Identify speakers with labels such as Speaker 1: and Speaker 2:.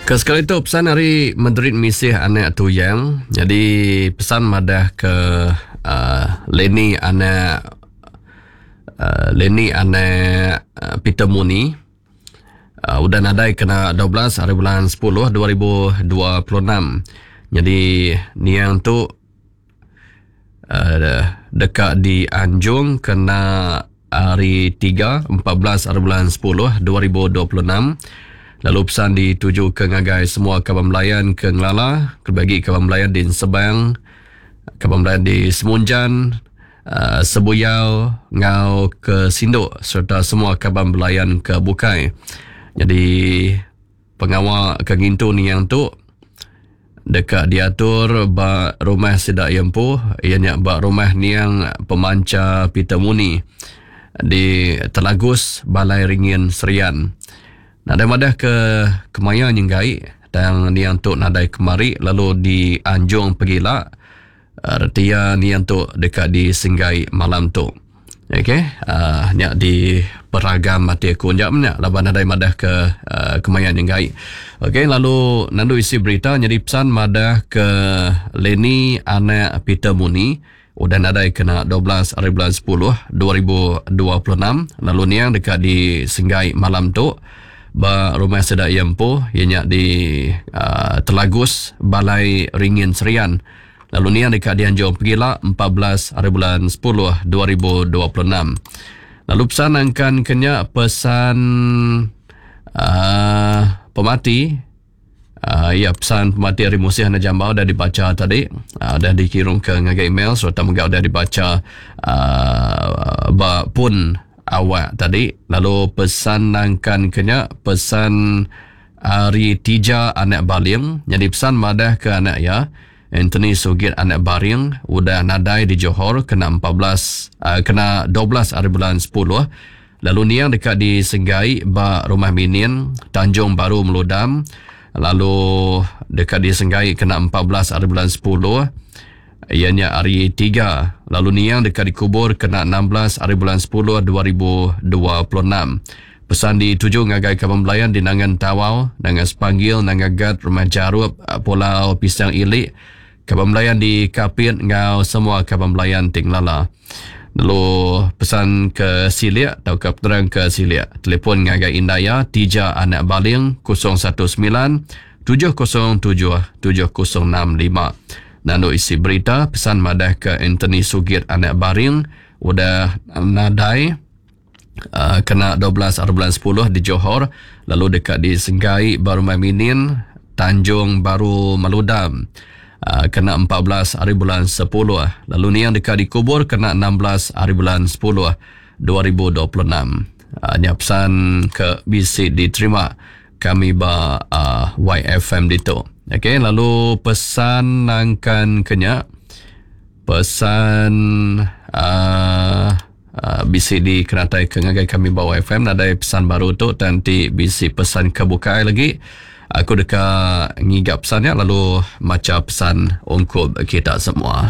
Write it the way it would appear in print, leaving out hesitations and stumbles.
Speaker 1: Ke sekali tu pesan ari Madrid Misih anak Tuyang. Jadi pesan madah ke uh, Lenny anak uh, Lenny anak uh, Peter Muni uh, udah nadai kena 12 hari bulan 10 2026. Jadi niang tu uh, deka dianjung kena hari 3 14 hari bulan 10 2026 lalu pesan dituju ke ngagai semua kaban belayan ke ngelala kelebih agi kaban belayan di Ensebang, kaban belayan di Semunjan, uh, Sebuyau enggau ke Sindok sereta semua kaban belayan ke bukai. Jadi pengawa ke ngintu niang tu deka diatur ba rumah sida iya empu iya nya ba rumah niang Pemancha Peter Muni di Telagus Balai Ringin Serian. Nadai madah ke kemaya nyenggai tang niang tu nadai kemari lalu dianjung pegila Reti iya niang tu deka disenggai malam tu. Okey, uh, nya di peragam ati aku nya nya laban nadai madah ke uh, kemaya nyenggai. Okey, lalu nandu isi berita nyadi pesan madah ke Lenny anak Peter Muni udah nadai kena 12 hari bulan 10 2026 lalu niang deka disenggai malam tu ba rumah sida iya empu iya nya di uh, Telagus Balai Ringin Serian. Lalu niang deka dianjung pegila 14 hari bulan 10 2026. Lalu pesan angkan ke nya pesan uh, pemati uh, ya pesan pemati hari Musih Anak Jambau dah dibaca tadi uh, dah dikirim ke ngagai email serta mega dah dibaca uh, ba pun awak tadi lalu pesan nangkan ke nya pesan Ari Tija anak Baling nyadi pesan madah ke anak iya, Anthony Sugit anak Baring udah nadai di Johor kena 14 kena 12 ari bulan 10 lalu niang deka disenggai ba Rumah Minin, Tanjung Baru Meludam lalu deka disenggai kena 14 ari bulan 10 iya nya ari 3 lalu niang deka dikubur kena 16 ari bulan 10 2026. Pesan dituju ngagai kaban belayan di Nanga Entawau, Nanga Sepanggil, Nanga Gat, Rumah Jarup, Pulau Pisang Ili, kaban belayan di Kapit enggau semua kaban belayan ti ngelala. Lalu pesan ke silik tauka penerang ke silik, telefon ngagai indai iya Tija Anak Baling 019 707 7065. Nandu isi berita, pesan madahka Anthony Sugit Anak Baring udah nadai uh, kena 12 hari bulan 10 di Johor lalu deka disenggai ba Rumah Minin Tanjung Baru Maludam uh, kena 14 hari bulan 10 lalu niang deka dikubur kena 16 hari bulan 10 2026. Uh, nya pesan ke bisi diterima kami ba uh, YFM ditu. Okey, lalu pesan nangkan kenya pesan uh, uh, bisi dikenatai ke ngagai kami ba YFM nadai pesan baru tu tang ti bisi pesan ke bukai lagi aku deka ngiga pesan nya lalu macha pesan ungkup kita semua.